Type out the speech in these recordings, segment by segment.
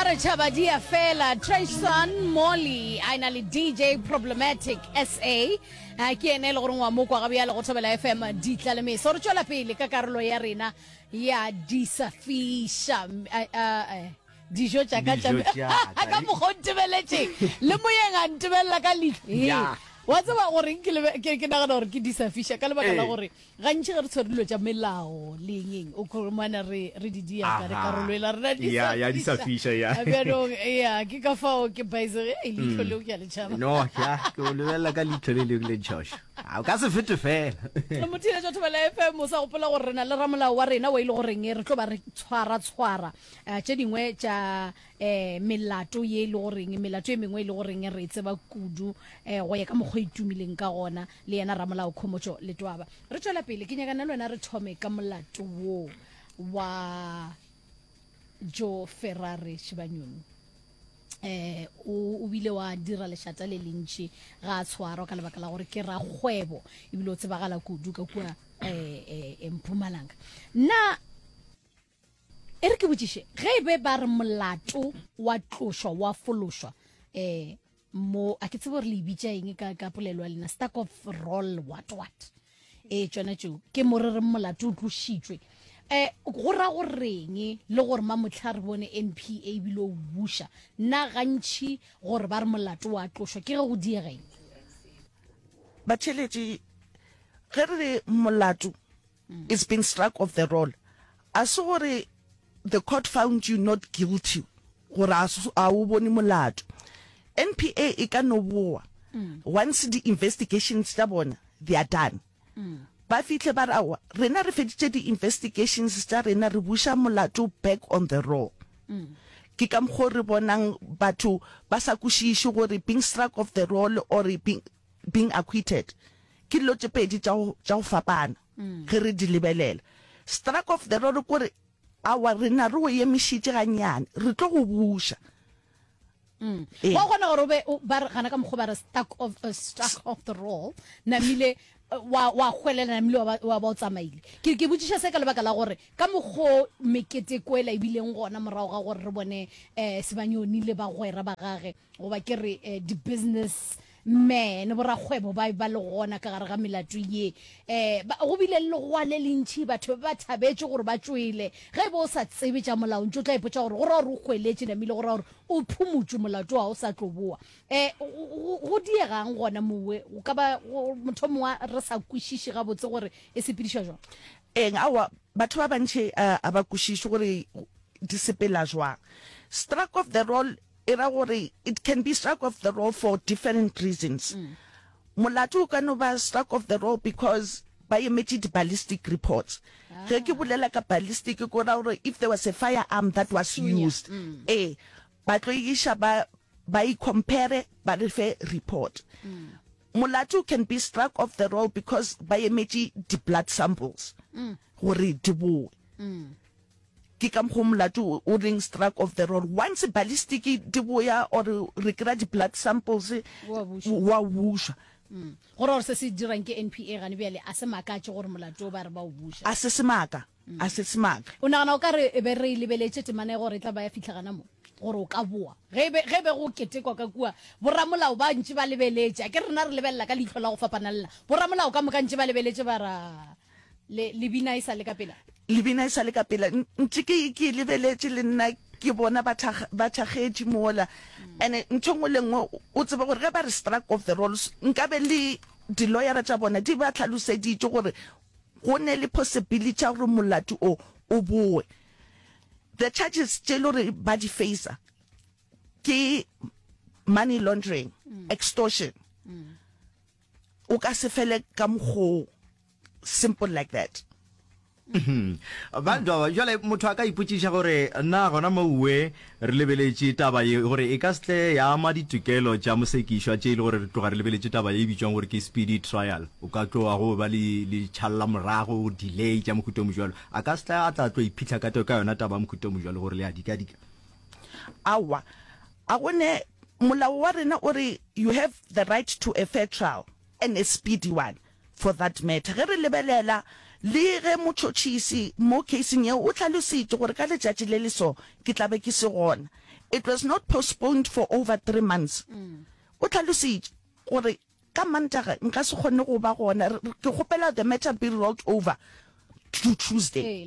Ba re tšhaba di a fela. Trayson Molly a na le DJ Problematic SA. A ke ene e le goreng wa mo kwa ga bjale go Thobela FM ditla le meso. Re tšwela pele ka karolo ya rena ya disafiša. Dijo tša ka tša ka mokgwa o ntebeletšeng le moyeng a ntebelela ka leihlo. Wa tseba gore ke ke nagana gore ke disafiša ka lebaka la gore Gantši ge re tshwere dilo tša melao le eng eng, o khumana re re di dia ka re karolo ela rena di Ya, ya, di sa fiša, ya. Bjanong, ya, ke ka fao ke baisege, ei, leihlo leo ke a le tšhaba. No, ya, ke o lebelela ka leihlo le lengwe le ntšhošo. A o ka se fete fela. Motheeletši wa Thobela FM, o sa gopola gore re na le ramolao wa rena o e le goreng re tlo ba re tshwara-tshwara eh, tše dingwe tša eh, melato ye e le goreng, melato e mengwe e le goreng re e tseba kudu eh, go ya ka mokgwa e tumileng ka gona. le yena ramolao Khomotšo Letwaba. Re tšwela pele, ke nyaka nna le wena re thome ka molato wo wa Joe Ferrari Shibanyoni. Eh, o, o bile wa dira lešata le lentši ga a tshwarwa ka lebaka la gore ke rakgwebo ebile o tsebagala kudu ka kua eh, eh, Mpumalanga. Na e re ke botšiše ge e be ba re molato wa tlošwa wa fološwa eh mo a ke tsebe gore le e bitša eng ka, ka polelo ya lena stack of roll what what e tšona tšeo ke mo re reng molato o tlošitšwe um go ra goreng le gore mamotlha re bone npa ebile o buša na gantšhi gore ba re molato wa tlošwa ke ge go diegeng Batheeletši, ge re re molato It's been struck off the roll. A se gore the court found you not guilty gore a a o bone molato. NPA e ka no boa once di investigations tša bona they are done. Ba fihle ba re aowa rena re feditše di investigations tša rena re buša molato back on the roll. Ke ka mokgo re bonang batho ba sa kwešiše gore being struck off the roll or being being acquitted ke dilo tše pedi tša go tša go fapana ge re di lebelela. Struck off the roll ke gore aowa rena re go emišitše gannyane re tlo go buša. Ee. Wa kgona gore o be o ba re gana ka mokgwa ba re stuck of uh, struck off the roll namile eh, wa wa hwelela namile wa ba wa ba o tsamaile. Ke ke botšiša se ka lebaka la gore ka mokgo meketeko ela e bileng gona morago ga gore re bone eh Sebanyoni le bagwera ba gage goba ke re eh, di-business men borakgwebo ba ba le gona ka gare ga melato ye um ba, go bile le legoa le lentši batho ba ba thabetše gore ba tšwele ge e be o sa tsebe tša molao ntše o tla ipotša gore go ra gore o hweletše namile go ra gore o phumotšwe molato wa o sa tlo boa um go diegang gona mowe go ka ba motho mongwe re sa kwešiše gabotse gore e sepedišwa jwang Eng, aowa, batho ba bantši a ba kwešiše gore di sepela jwang. Struck off the roll E ra gore it can be struck off the roll for different reasons. Molato o ka no ba struck off the roll because ba emetše di-ballistic reports. Ge ke bolela ka ballistic ke ra gore if there was a firearm that was used, ee, ba tlo e iša ba ba e compare ba re fe report. Molato can be struck off the roll because ba emetše di-blood samples gore di boe. Ke ka mokgo molato o leng struck off the roll. Once ballistic di boya or re kry-a di blood samples wa bušwa. Go ra gore se se dirang ke NPA gane bjale a se makatše gore molato o ba re ba o buša. A se semaka, a se semaka. O nagana o ka re e be re e lebeletše temana e gore e tla ba ya fihla gana mo gore o ka boa ge e be ge e be go ketekwa ka kua boramolao ba ntše ba lebeletše a ke rena re lebelela ka leihlo la go fapana le la boramolao ka moka ntše ba lebeletše ba ra Le, lebina e sa le ka pela. Lebina e sa le ka pela. Ntše ke, ke e lebeletše le nna, ke bona ba thakg, ba thakgetše mola. And-e ntho e nngwe le nngwe, o tsebe gore ge ba re struck off the rolls, nkabe le di-lawyer-a tša bona di ba hlaloseditše gore go ne le possibility ya gore molato o o bowe. The charges tše e le gore ba di facer ke money laundering, extortion. O ka se fele ka mokgoo, simple like that. Ba jwale motho a ka ipotšiša gore na gona mouwe re lebeletše taba ye gore e ka se tle ya ama ditokelo tša mosekišwa tše e le gore re tloga re lebeletše taba ye e bitšwang gore ke speedy trial o ka tloga go ba le le tšhalla morago delay tša mohuta o mojwalo a ka se tle a tla tlo iphitlha ka ka yona taba ya mohuta o mojwalo gore le a dikadika Aowa, a go ne molao wa rena o re you have the right to a fair trial and a speedy one for that matter. Ge re lebelela le ge motšhotšhisi mo caseng yeo o hlalositše gore ka letšatši le le so ke tla be ke se gona. It was not postponed for over 3 months. O hlalositše gore ka Mantaga nka se kgone go ba gona, ke kgopela the matter be rolled over to Tuesday,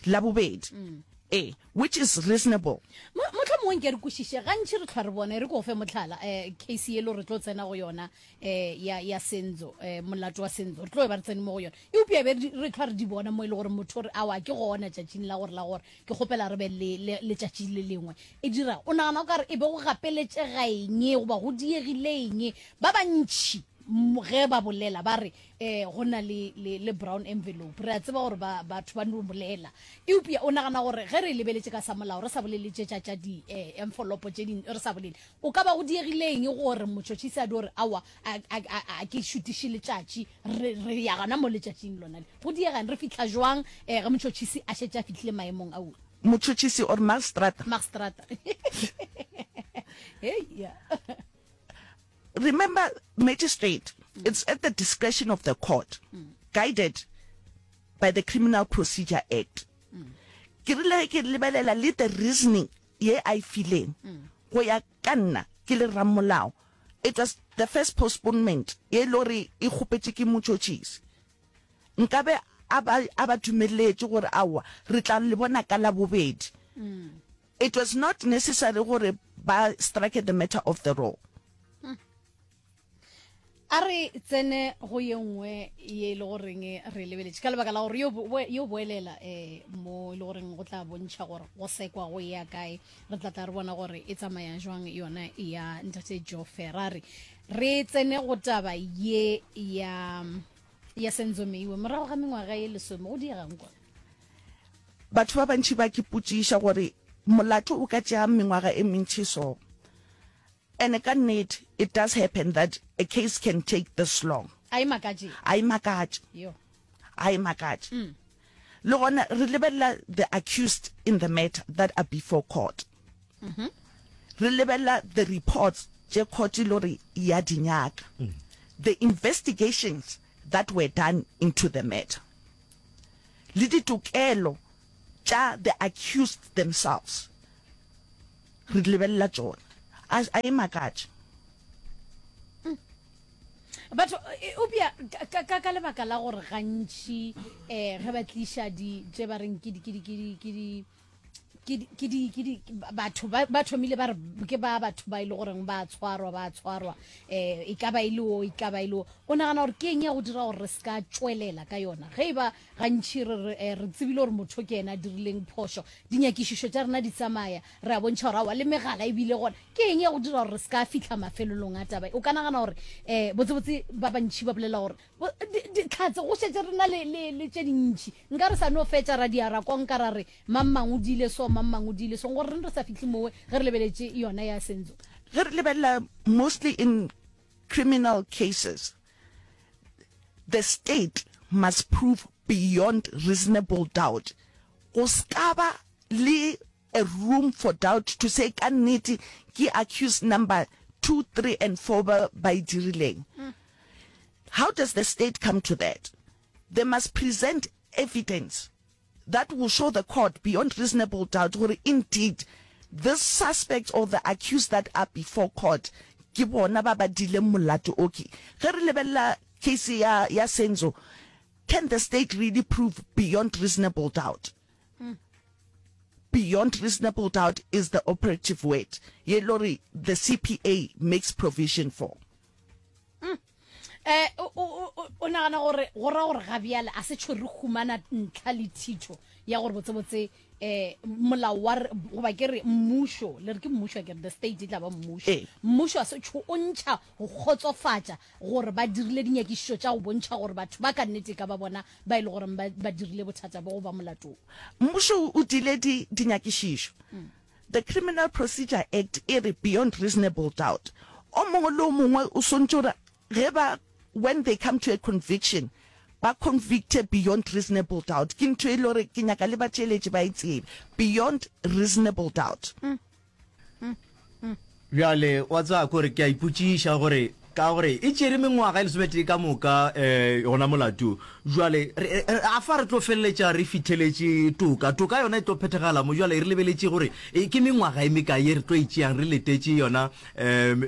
Labobedi. Ee, which is reasonable. Mohlomongwe nke re kwešiše, gantši re hlwa re bona, e re ke go fe mohlala, um case yelo re tlo tsena go yona um ya, ya Senzo, um molato wa Senzo, re tlo e ba re tsene mo go yona. Eupša be re hlwa re di bona mo e le gore motho o re, aowa, ke gona tšatšing la gore la gore, ke kgopela re be le, le letšatši le lengwe. E dira, o nagana o ka re e be go gapeletšega eng goba go diegile eng? Ba bantši ge ba bolela ba re um go na le, le, le brown envelope. Re a tseba gore ba, batho ba no bolela. Eupša o nagana gore ge re e lebeletše ka sa molao, re sa bolele tše tša, tša di eh, envelope tše ding, re sa bolele, o ka ba go diegile eng gore motšhotšhisi a dio re, aowa, a, a, a, a ke šutiše letšatši, re, re ya gona mo letšatšing lona le. Go diega eng? Re fihla jwang eh, ge motšhotšhisi a šetše a fihlile maemong ao? Motšhotšhisi or magistrata? Magistrata. Hei, ya. Remember, magistrate, it's at the discretion of the court, guided by the Criminal Procedure Act. Ke rile ge ke lebelela le the reasoning ye a e fileng, go ya ka nna ke le ramolao, it was the first postponement ye e le gore e kgopetše ke motšhotšhisi. Nkabe a ba a ba dumeletše gore aowa re tla le bona ka Labobedi. It was not necessary gore ba strike the matter off the roll. A re tsene go ye nngwe ye e le goreng re lebeletše ka lebaka la gore yo yo boelela um mo e le goreng go tla bontšha gore go sekwa go ya kae. Re tla tla re bona gore e tsamaya jwang yona ya ntate Joe Ferrari. Re tsene go taba ye ya ya Senzo Meyiwa morago ga mengwaga ye lesome go diegang kwa. Batho ba bantši ba ke potšiša gore molato o ka tšea mengwaga e mentši so. And ka nnete it does happen that a case can take this long. A e makatše. A e makatše. Yo. A e makatše. Mm. Le gona re lebelela the accused in the matter that are before court. Mm -hmm. Re lebelela the reports tše court e le gore ya di nyaka. Mm. The investigations that were done into the matter. Le ditokelo tša the accused themselves. Re di lebelela tšona. A, a e makatše. Batho, eupša ka, ka, ka lebaka la gore gantši um ge ba tliša di, tše ba reng ke di, ke di, ke di, ke di, ke di, ke di, ke di, batho ba, ba thomile ba re ke ba batho ba e le goreng ba tshwarwa, ba tshwarwa, um e ka ba e le o, e ka ba e le o. O nagana gore ke eng ya go dira gore re se ka tšwelela ka yona? Ge e ba Gantši re re, eh, re tsebile gore motho ke yena a dirileng phošo. Dinyakišišo tša rena di tsamaya, re a bontšha gore aowa, le megala e bile gona. Ke eng ya go dira gore re se ka fihla mafelelong a taba ye? O ka nagana gore, eh, botsebotse ba bantši ba bolela gore, bo, di, dihlatse go šetše re na le, le, le tše dintši. Nka re sa no fetša ra dia ra konka ra re, mang mang o diile so, mang mang o diile so. Gore reng re sa fihle mowe ge re lebeletše yona ya Senzo? Ge re lebelela mostly in criminal cases, The state must prove beyond reasonable doubt, go ska ba le a room for doubt to say ka nnete ke accused number 2, 3 and 4 ba ba e dirileng. How does the state come to that? They must present evidence that will show the court beyond reasonable doubt gore indeed this suspects or the accused that are before court ke bona ba ba dileng molato o. Ke ge re lebelela case ya ya Senzo, can the state really prove beyond reasonable doubt? Beyond reasonable doubt is the operative word ye le gore the CPA makes provision for. Eh, o, o, o, o nagana gore go ra gore ga bjale a se tšho re humana ntlha le thitho ya gore botsebotse eh molao wa goba ke re mmušo le re ke mmušo ke re the state e tla ba mmušo Ee. mmušo a se tšho o ntšha go kgotsofatša gore ba dirile dinyakišišo tša go bontšha gore batho ba ka nnete e ka ba bona ba e le goreng ba, ba dirile bothata bo go ba molatong. Mmušo o dile di, dinyakišišo. The Criminal Procedure Act e re beyond reasonable doubt o mongwe le o mongwe o swantše gore ge ba when they come to a conviction ba convicte beyond reasonable doubt. Ke ntho e le gore ke nyaka le batšeletši ba e tsebe, beyond reasonable doubt. Bjale wa tseba kore ke a ipotšiša gore. Ka gore e tšere mengwaga e lesometee ka moka um gona molato. Jwale re, a fa re tlo feleletša re fitheletše toka? Toka yona e tlo phethagala mo. Jwale re lebeletše gore e ke mengwaga e mekae ye re tlo e tšeang re letetše yona um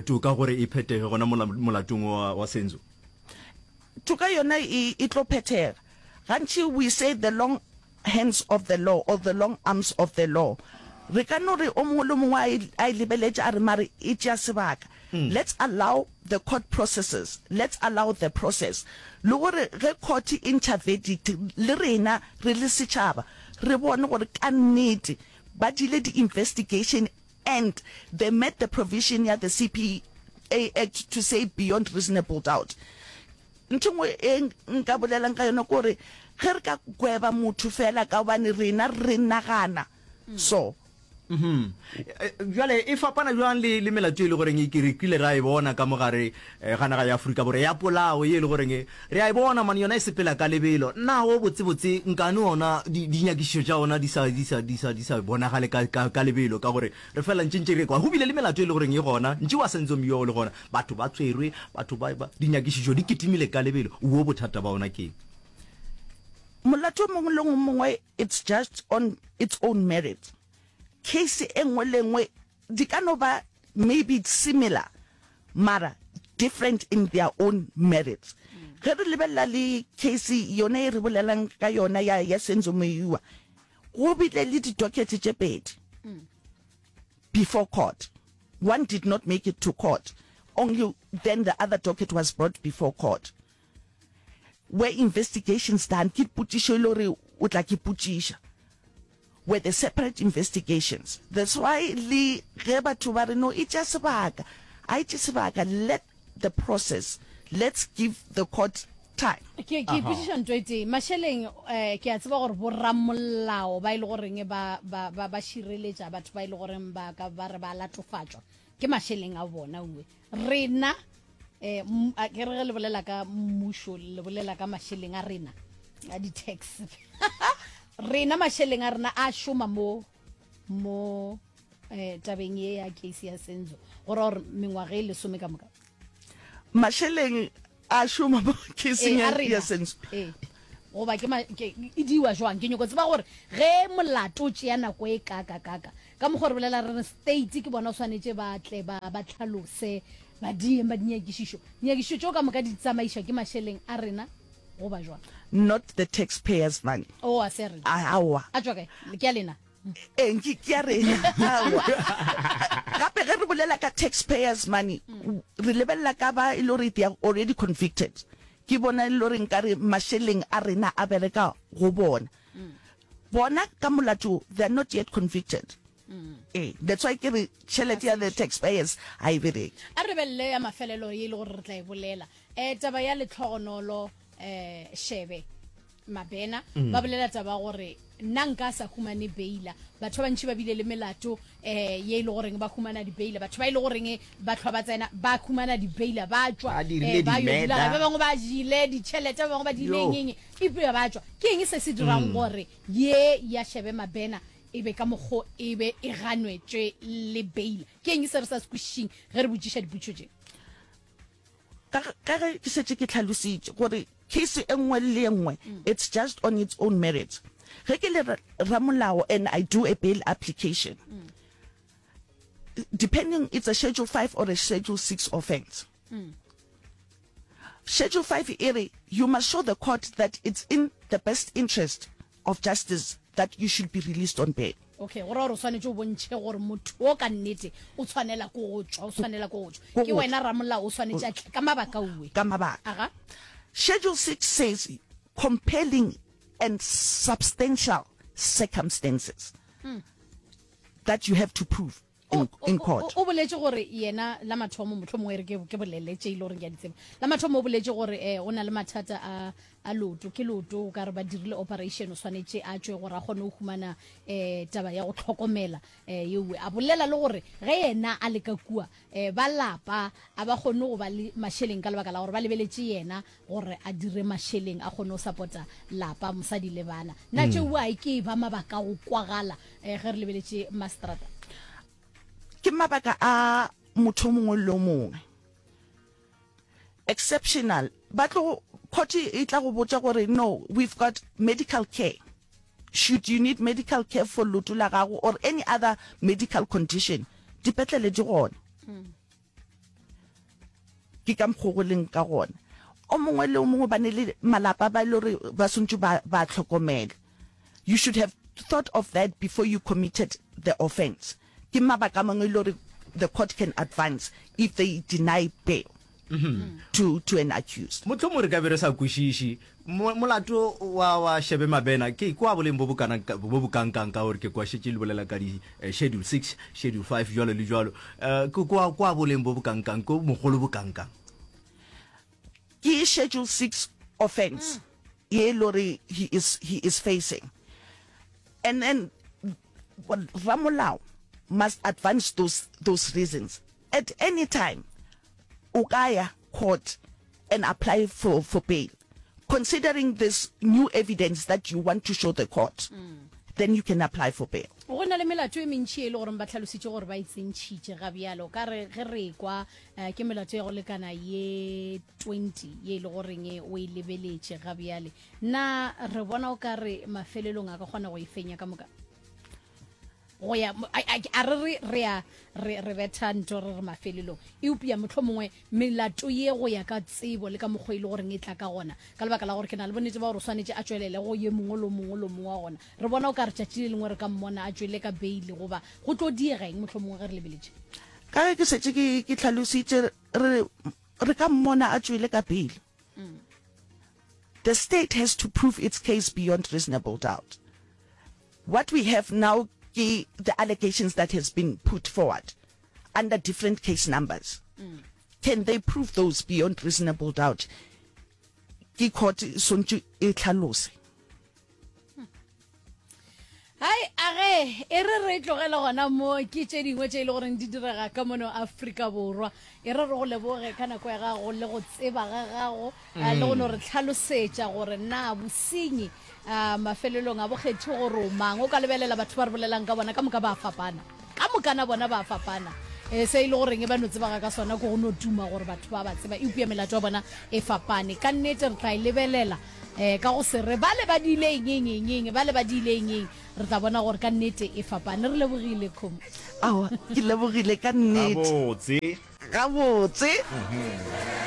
toka gore e phethege gona mola molatong wa, wa Senzo. Toka yona e, e tlo phethega. Gantši we say the long hands of the law or the long arms of the law. Re ka no re o mongwe le o mongwe a e, a e lebeletše a re mare e tšea sebaka. Let's allow the court processes, let's allow the process. Le gore ge court e ntšha verdict le rena re le setšhaba re bone gore ka nnete ba diile di-investigation and they met the provision ya the CPA Act to say beyond reasonable doubt. Ntho e nngwe e nka bolelang ka yona ke gore ge re ka gweba motho fela ka gobane rena re nagana so. Bjale e fapana bjang le, le melato e le goreng e ke re kile ra e bona ka mo gare ga naga ya Afrika Borwa ya polao ye e le goreng re a e bona mane yona e sepela ka lebelo. Na wo botsebotse nkane ona di, dinyakišišo tša ona di sa, di sa, di sa, di sa bonagale ka, ka, ka lebelo ka gore re fela ntše ntše re kwa go bile le melato e le goreng e gona ntše wa Senzo Meyiwa o le gona Batho ba tswerwe, batho ba, ba, dinyakišišo di kitimile ka lebelo. Wo bothata ba ona ke eng? Molato o mongwe le o mongwe it's judged on its own merit. Case e nngwe le nngwe di ka no ba maybe similar mara different in their own merits. Ge re lebelela le case yone e re bolelang ka yona ya, ya Senzo Meyiwa, go bile le di-docket tše pedi before court. One did not make it to court, only then the other docket was brought before court. Were investigations done? Ke potšišo e le gore o tla ke potšiša. Were the separate investigations? That's why le ge batho ba re no e tšea sebaka, a e tšee sebaka, let the process, let's give the court time. Ke ke ipotšiša ntho e tee mašeleng um ke a tseba gore boramolao ba e le goreng ba ba ba ba šireletša batho ba e le goreng ba ka ba re ba latofatšwa ke mašeleng a bona uwe rena um ke re ge le bolela ka mmušo le bolela ka mašeleng a rena a di-tax rena mašeleng a rena a šoma mo mo um tabeng ye ya case ya Senzo go ra gore mengwaga e lesome ka moka mašeleng a šoma mo caseng Ee, a ya rena. ya Senzo Ee. goba ke ma- ke- e diwa jwang ke nyoko tseba gore ge molato o tšea nako e kaka kaka ka mokgwa re bolela re re state ke bona o swanetše ba tle ba ba tlhalose ba dieng ba dinyakišišo dinyakišišo tšeo ka moka di tsamaišwa ke mašeleng a rena goba jwang not the taxpayers money o a se a rena aowa a tšwa kae ke a lena Ee, ke ke ya rena. Aowa. Gape ge re bolela ka taxpayers money, re lebelela ka ba e le gore they are already convicted. Ke bona e le gore nkare mašeleng a rena a bereka go bona. Bona ka molato they are not yet convicted. Ee, that's why ke re tšhelete ya the taxpayers ga e bereke. A re lebelele ya mafelelo ye e le gore re tla e bolela. Um taba ya Letlhogonolo um Shebe. Mabena mm. ba bolela taba gore nna nka sa humane beila batho ba bantši ba bile le melato um ye e le goreng ba humana dibeila batho ba e le goreng ba tlhwa ba tsena ba humana dibeila ba tšwa eh, ba yo dula ba bangwe ba jile ditšhelete ba bangwe ba diile eng eng ba tšwa ke eng se se dirang mm. gore ye ya shebe mabena e be ka mokgo e be e ganwetšwe le beila ke eng se re sa se kwešišeng ge re botšiša dipotšišo tše Ka, ka ge ke šetše ke hlalositše gore case e nngwe le e nngwe it's just on its own merits. Ge ke le ramolao and I do a bail application, depending it's a schedule 5 or a schedule 6 offence. Schedule 5 e re you must show the court that it's in the best interest of justice that you should be released on bail. Okay, go ra gore o swanetše o bontšhe gore motho o ka nnete o tshwanela ko go tšwa, o tshwanela ko go tšwa. Ke wena ramolao o swanetše a tle ka mabaka uwe. Ka mabaka. Aga. Schedule 6 says compelling and substantial circumstances mm. that you have to prove. in, in court. O, o boletše gore yena la mathomo mohlomongwe e re ke, ke bolele tše e le gore ke a di tseba. La mathomo o boletše gore eh, o na le mathata a, a loto, ke loto o ka re ba dirile operation o swanetše a tšwe gore a kgone go humana eh, taba ya go hlokomela eh, yeowe. A bolela le gore ge yena a le ka kua eh, ba lapa a ba kgone go ba le mašeleng ka lebaka la gore ba lebeletše yena gore a dire mašeleng a kgone go sapota lapa, mosadi le bana. Na tšeo a e ke e ba mabaka a go kwagala eh, ge re lebeletše mastrata? Ke mabaka a motho o mongwe le o mongwe. Exceptional, ba tlo, court e tla go botša gore no, we've got medical care, should you need medical care for leoto la gago or any other medical condition, dipetlele di gona. Ke ka mokgo go leng ka gona. O mongwe le o mongwe ba ne le malapa ba e le gore ba swantše ba ba hlokomele. You should have thought of that before you committed the offence. Ke mabaka a mangwe e le gore the court can advance if they deny bail to, to an accused. Mohlomongwe re ka be re sa kwešiše molato wa, wa Shebe Mabena ke kwa boleng bo bokana, bo bokankang ka gore ke kwa šetše le bolela ka di eh, schedule 6, schedule 5 jwalo le jwalo. Eh, ke kwa, kwa boleng bo bokankang, ke mogolo bokankang. Ke schedule 6 offence ye e le gore he is, he is facing. And then ramolao must advance those, those reasons. At any time o ka ya court and apply for, for bail considering this new evidence that you want to show the court, then you can apply for bail. Go na le melato e mentši e le goreng ba hlalositše gore ba e tsentšhitše ga bjalo. Ka re ge re ekwa eh, ke melato ya go lekana ye 20 ye e le goreng eh, o e lebeletše ga bjale. Na re bona o ka re mafelelong a ka kgona go e fenya ka moka? Go ya a re re re a re re betha nto re re mafelelong, eupša mohlomongwe melato ye go ya ka tsebo le ka mokgwa e le goreng e tla ka gona, ka lebaka la gore ke na le bonnete ba gore o swanetše a tšwelele go ye mongwe le mongwe le mongwe wa gona. Re bona o ka re tšatši le lengwe re ka mmona a tšwele ka beile goba go tlo diega eng mohlomongwe ge re lebeletše. Ka ge ke šetše ke ke hlalositše re re ka mmona a tšwele ka beile. The state has to prove its case beyond reasonable doubt. What we have now ke the allegations that has been put forward under different case numbers. Can they prove those beyond reasonable doubt? Ke court e swantše e hlalose. Hai, a ge e re re tlogele gona mo ke tše dingwe tše e le goreng di direga ka mono Afrika Borwa. E re re go leboge ka nako ya gago le go tseba ga gago eh, le go no re tlhalosetša gore na bosenyi ah, mafelelong a bo kgethe gore o mang. O ka lebelela batho ba re bolelang ka bona ka moka ba a fapana. Ka mokana bona ba a fapana. E, se e le goreng ba no tsebaga ka sona ke go no tuma gore batho ba ba tseba, eupša melato ya bona e fapane. Ka nnete re tla e lebelela um ka go se re bale ba diile eng eng eng eng, bale ba diile eng eng, re tla bona gore ka nnete e fapane. Re lebogile, Kgomo. Aowa, ke lebogile ka nnete. Gabotse. Gabotse.